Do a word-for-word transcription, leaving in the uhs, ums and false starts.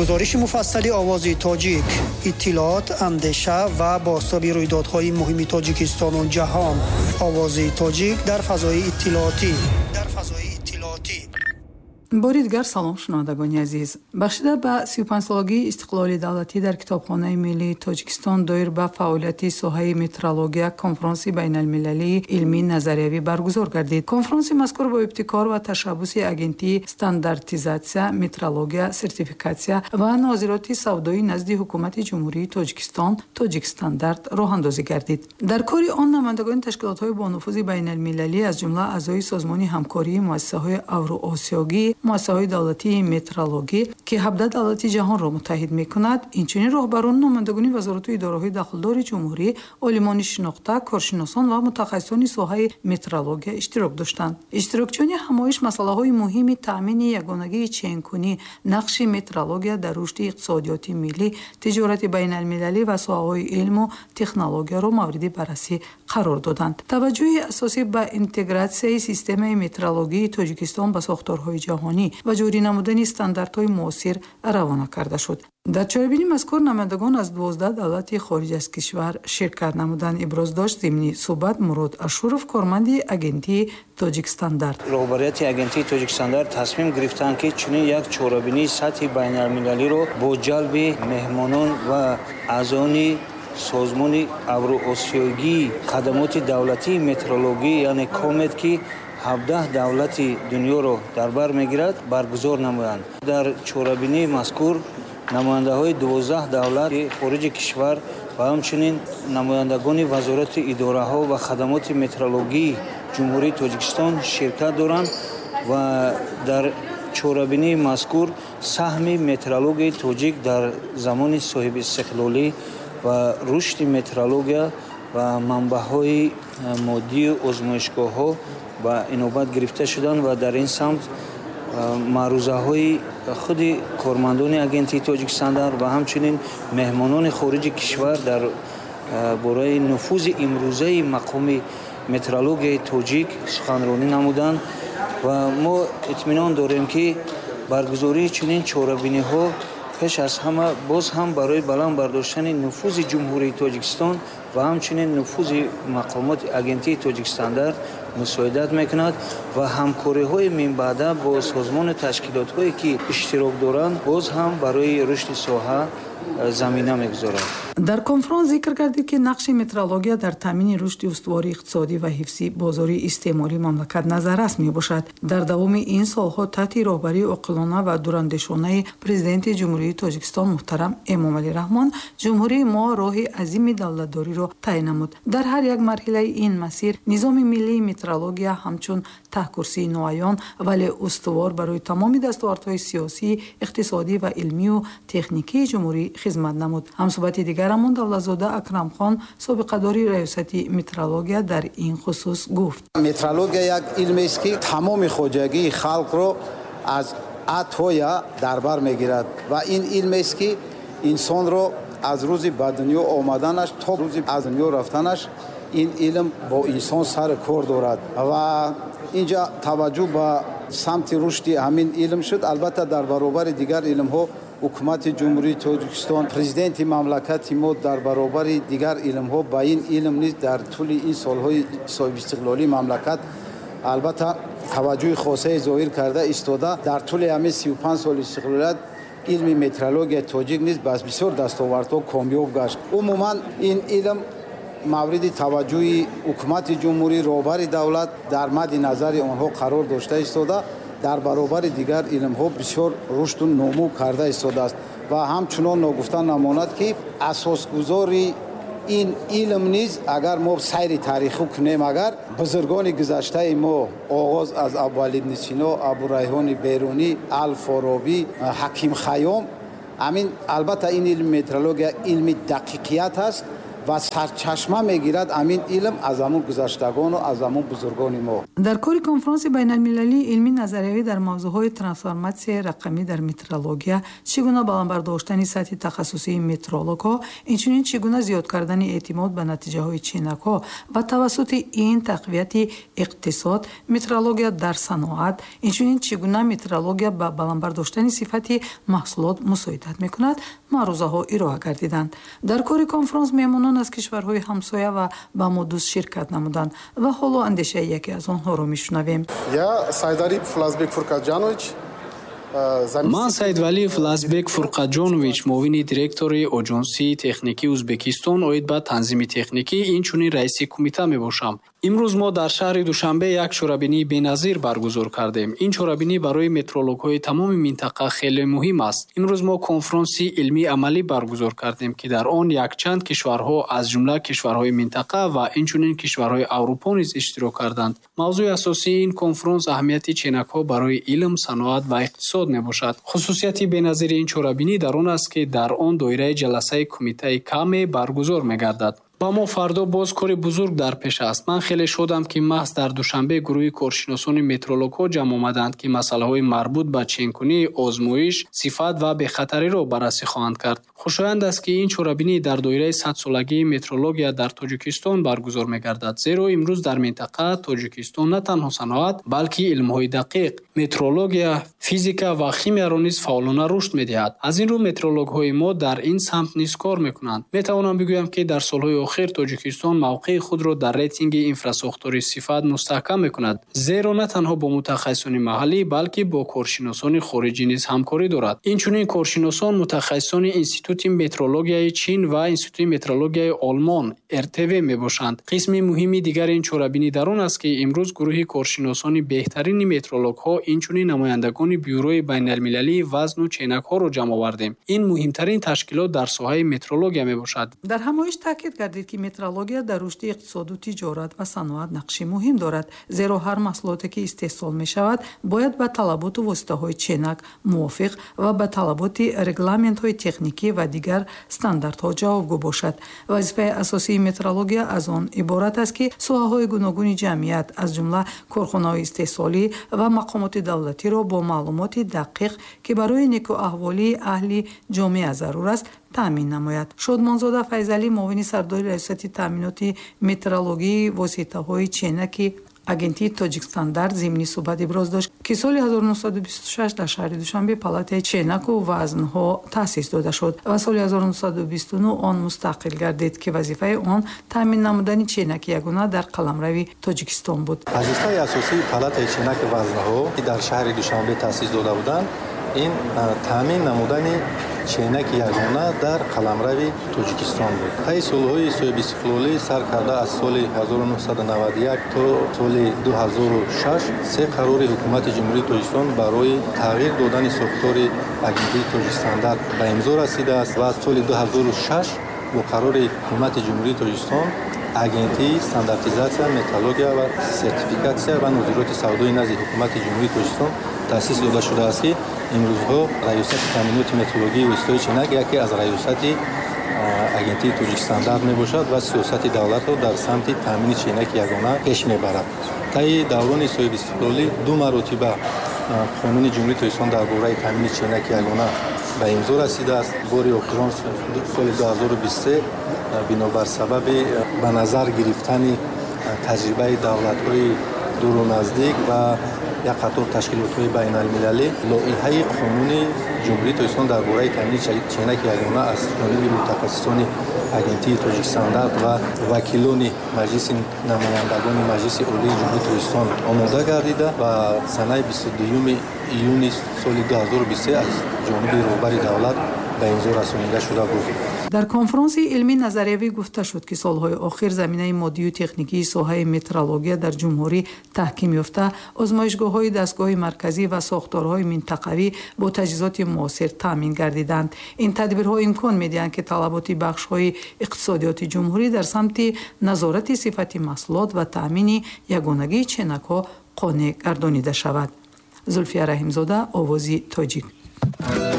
Гузориши муфассали Овози Тоҷик, иттилоот, андеша ва бозтоби рӯйдодҳои муҳими Тоҷикистону ҷаҳон. Овози Тоҷик дар фазои иттилоотӣ. Дар фазои иттилоотӣ. Бори дигар салом, шунавандагони азиз. Бахшида ба сию панҷсолагии истиқлоли давлатӣ дар Китобхонаи миллии Тоҷикистон доир ба фаъолияти соҳаи метрология конфронси байналмилалии илмии назариявӣ баргузор гардид. Конфронси мазкур бо ибтикор ва ташаббуси Агентии стандартизатсия, метрология, сертификатсия ва нозироти савдоӣ назди Ҳукумати Ҷумҳурии Тоҷикистон, Тоҷикстандарт, роҳандозӣ гардид. Дар кори он намояндагони ташкилотҳои бонуфузи байналмилалӣ, аз ҷумла аъзои Созмони ҳамкории муассисаҳои Авроосиёгӣ, муассисаҳои давлатии метрологӣ, ки ҳабдаҳ давлати ҷаҳонро муттаҳид мекунад, инчунин роҳбарону намояндагони вазорату идораҳои дахлдори ҷумҳурӣ, олимони шинохта, коршиносон ва мутахассисони соҳаи метрология иштирок доштанд. Иштирокчиёни ҳамоиш масъалаҳои муҳими таъмини ягонагии ченкунӣ, нақши метрология дар рушди иқтисодиёти миллӣ, тиҷорати байналмилалӣ ва соҳаҳои илму технологияро мавриди баррасӣ қарор доданд. Таваҷҷӯҳи асосӣ ба интегратсияи системаи метрологии Тоҷикистон ба сохторҳои ҷаҳонӣ ва ҷорӣ намудани стандартҳои муосир равона карда шуд. Дар чорабинии мазкур намояндагон аз дувоздаҳ давлати хориҷ аз кишвар ширкат намуданд. Иброз дошт зимни суҳбат Мурод Ашуров, корманди Агентии Тоҷикстандарт. Роҳбарияти Агентии Тоҷикстандарт тасмим гирифтанд, ки чунин як чорабинии сатҳи байналмилалиро бо ҷалби меҳмонон ва аъзони Созмони Авроосиёгии хадамоти давлатии метрологӣ, яъне КОМЕТ, ки ҳабдаҳ давлати дунёро дар бар мегирад, баргузор намоянд. Дар чорабинии мазкур намояндаҳои дувоздаҳ давлати хориҷи кишвар ва ҳамчунин намояндагони вазорати идораҳо ва хадамоти метрологии Ҷумҳурии Тоҷикистон ширкат доранд ва дар чорабинии мазкур саҳми метрологияи тоҷик дар замони соҳибистиқлолӣ ва рушди метрология ва манбаъҳои моддию озмоишгоҳҳо ба инобат гирифта шуданд ва дар ин самт маърузаҳои худи кормандони Агентии Тоҷикстандарт ва ҳамчунин меҳмонони хориҷи кишвар дар бораи нуфузи имрӯзаи мақоми метрологияи тоҷик суханронӣ намуданд ва мо итминон дорем, ки баргузории чунин чорабиниҳо пеш аз ҳама боз ҳам барои баланд бардоштани нуфузи Ҷумҳурии Тоҷикистон ва ҳамчунин нуфузи мақомоти Агентии Тоҷикстандарт мусоидат мекунад ва ҳамкориҳои минбаъда бо созмону ташкилотҳое, ки иштирок доранд, боз ҳам барои рушди соҳа замина мегузорад. Дар конфронс зикр гардид, ки нақши метрология дар таъмини рушди устувори иқтисодӣ ва ҳифзи бозори истеъмолии мамлакат назаррас мебошад. Дар давоми ин солҳо таҳти роҳбарии оқилона ва дурандешонаи Президенти Ҷумҳурии Тоҷикистон муҳтарам Эмомалӣ Раҳмон ҷумҳурии мо роҳи азими давлатдориро тай намуд. Дар ҳар як марҳилаи ин масир низоми миллии метрология ҳамчун таҳкурсии ноаён, вале устувор барои тамоми дастовардҳои сиёсӣ, иқтисодӣ ва илмию техникии ҷумҳурӣ хизмат намуд. Ҳамсӯҳбати дигарамон Давлатзода Акрамхон, собиқадори раёсати метрология, дар ин хусус гуфт: Метрология як илмест, ки тамоми хоҷагии халқро аз А то Я дар бар мегирад ва ин илмест, ки инсонро аз рӯзи ба дунё омаданаш то рӯзи аз дунё рафтанаш ин илм бо инсон сари кор дорад ва инҷа таваҷҷӯҳ ба самти рушди ҳамин илм шуд. Албатта, дар баробари дигар илмҳо Ҳукумати Ҷумҳурии Тоҷикистон, Президенти мамлакати мо дар баробари дигар илмҳо ба ин илм низ дар тӯли ин солҳои соҳибистиқлолии мамлакат албатта таваҷҷӯҳи хосае зоҳир карда истода. Дар тӯли ҳамин сию панҷ соли истиқлолият илми метрологияи тоҷик низ ба бисёр дастовардҳо комёб гашт. Умуман, ин илм мавриди таваҷҷӯҳи Ҳукумати ҷумҳурӣ, роҳбари давлат дар мадди назари онҳо қарор дошта истода, дар баробари дигар илмҳо бисёр рушду нумӯ карда истодааст. Ва ҳамчунон ногуфта намонад, ки асосгузори ин илм низ, агар мо сайри таърихӣ кунем, агар бузургони гузаштаи мо, оғоз аз Абуалӣ ибни Сино, Абурайҳони Берунӣ, Алфоробӣ, Ҳаким Хайём, ҳамин албатта ин илми метрология илми дақиқият аст. Ва сарчашма мегирад ҳамин илм аз ҳамун гузаштагону аз ҳамун бузургони мо. Дар кори конфронси байналмилалии илмӣ назариявӣ дар мавзӯъҳои трансформатсияи рақамӣ дар метрология, чӣ гуна баланд бардоштани сатҳи тахассусии метрологҳо, инчунин чӣ гуна зиёд кардани эътимод ба натиҷаҳои ченакҳо ва тавассути ин тақвияти иқтисод, метрология дар саноат, инчунин чӣ гуна метрология ба баланд бардоштани сифати маҳсулот мусоидат мекунад, маърузаҳо ироа гардиданд. Дар кори конфронс меҳмонон аз кишварҳои ҳамсоя ва ба мо дӯст ширкат намуданд ва ҳоло андешаи яке аз онҳоро мешунавем. Я Сайдарипов Лазбек Фуркатҷанович. Ман Саидвалиев Лазбек Фурқатҷонович, муовини директори Оҷонсии техникии Ӯзбекистон оид ба танзими техникӣ, инчунин раиси кумита мебошам. Имрӯз мо дар шаҳри Душанбе як чорабинии беназир баргузор кардем. Ин чорабинӣ барои метрологҳои тамоми минтақа хеле муҳим аст. Имрӯз мо конфронси илмии амалӣ баргузор кардем, ки дар он якчанд кишварҳо, аз ҷумла кишварҳои минтақа ва инчунин кишварҳои Аврупо низ иштирок карданд. Мавзӯи асосии ин конфронс аҳамияти ченакҳо барои илм, саноат ва иқтисод мебошад. Хусусияти беназири ин чорабинӣ дар он аст, ки дар он доираи ҷаласаи кумитаи каме баргузор мегардад. Ба мо фардо боз кори бузург дар пеш аст. Ман хеле шодам, ки маҳз дар Душанбе гурӯҳи коршиносони метрологҳо ҷамъ омаданд, ки масъалаҳои марбут ба ченкунӣ, озмоиш, сифат ва бехатариро баррасӣ хоҳанд кард. Хушоянд аст, ки ин чорабинӣ дар доираи садсолагии метрология дар Тоҷикистон баргузор мегардад, зеро имрӯз дар минтақа Тоҷикистон на танҳо саноат, балки илмҳои дақиқ, метрология, физика ва химияро низ фаъолона рушд медиҳад. Аз ин рӯ метрологҳои мо дар ин самт низ кор мекунанд. Метавонам бигӯям, ки дар солҳои охир Тоҷикистон мавқеи худро дар рейтинги инфрасохтори сифат мустаҳкам мекунад, зеро на танҳо бо мутахассисони маҳаллӣ, балки бо коршиносони хориҷӣ низ ҳамкорӣ дорад. Инчунин коршиносон мутахассисони Институти метрологияи Чин ва Институти метрологияи Олмон Р Т В мебошанд. Қисми муҳими дигари ин чорабинӣ дар он аст, ки имрӯз гурӯҳи коршиносони беҳтарини метрологҳо, инчунин намояндагони бюрои байналмилалии вазну ченакҳоро ҷамъ овардем. Ин муҳимтарин ташкилот дар соҳаи метрология мебошад. Дар ҳамоиш таъкид гардид, ки метрология дар рушди иқтисоду тиҷорат ва саноат нақши муҳим дорад, зеро ҳар маҳсулоте ки истеҳсол мешавад, бояд ба талаботу воситаҳои ченак мувофиқ ва ба талаботи регламентҳои техникӣ ва дигар стандартҳо ҷавобгӯ бошад. Вазифаи асосии метрология аз он иборат аст, ки соҳаҳои гуногуни ҷамъият, аз ҷумла корхонаҳои истеҳсолӣ ва мақомоти давлатиро бо маълумоти дақиқ, ки барои некӯаҳволии аҳли ҷомеа зарур аст, таъмин намояд. Шодмонзода Файзалӣ, муовини сардори раёсати таъминоти метрологии воситаҳои ченаки агентии Тоҷикстандарт, зимни суҳбат иброз дошт, ки соли ҳазору нӯҳсаду бисту шаш дар шаҳри Душанбе палатаи ченаку вазнҳо таъсис дода шуд ва соли ҳазору нӯҳсаду бисту нӯҳ он мустақил гардид, ки вазифаи он таъмин намудани ченаки ягона дар қаламрави Тоҷикистон буд. Вазифаи асосии палатаи ченаки вазнҳо, ки дар шаҳри Душанбе таъсис дода буданд, ин таъмин намудани ченаки ягона дар қаламрави Тоҷикистон буд. Таи солҳои соҳибистиқлолӣ сар карда аз соли ҳазору нӯҳсаду наваду як то соли ду ҳазору шаш се қарори ҳукумати Ҷумҳурии Тоҷикистон барои тағйир додани сохтори агентии Тоҷикстандарт ба имзо расидааст ва аз соли ду ҳазору шаш бо қарори ҳукумати Ҷумҳурии Тоҷикистон агентии стандартизатсия, метрология ва сертификатсия ва нозироти савдои назди ҳукумати Ҷумҳурии Тоҷикистон таъсис дода шудааст, ки имрӯзҳо раёсати таъминоти метрологии воситаҳои ченак яке аз раёсати агентии Тоҷикстандарт мебошад ва сиёсати давлатро дар самти таъмини ченаки ягона пеш мебарад. Таи даврони соҳибистиқлолӣ ду маротиба қонуни Ҷумҳурии Тоҷикистон дар бораи таъмини ченаки ягона ба имзо расидааст. Бори охирон соли ду ҳазору бисту се бинобар сабаби ба назар гирифтани таҷрибаи давлатҳои дуру наздик ва як қатор ташкилотҳои байналмилалӣ лоиҳаи қонуни Ҷумҳурии Тоҷикистон дар бораи таъмини ченаки ягона аз ҷониби мутахассисони агентии Тоҷикстандарт ва вакилони Маҷлиси намояндагони Маҷлиси Олии Ҷумҳурии Тоҷикистон омода гардида ва санаи бисту дуюми июни соли ду ҳазору бисту се аз ҷониби роҳбари давлат ба имзо расонида шуда буд. Дар конфронси илмӣ назариявӣ гуфта шуд, ки солҳои охир заминаи моддию техникии соҳаи метрология дар ҷумҳурӣ таҳким ёфта, озмоишгоҳҳои дастгоҳи марказӣ ва сохторҳои минтақавӣ бо таҷҳизоти муосир таъмин гардиданд. Ин тадбирҳо имкон медиҳанд, ки талаботи бахшҳои иқтисодиёти ҷумҳурӣ дар самти назорати сифати маҳсулот ва таъмини ягонагии ченакҳо қонеъ гардонида шавад. Зулфия Раҳимзода, Овози Тоҷик.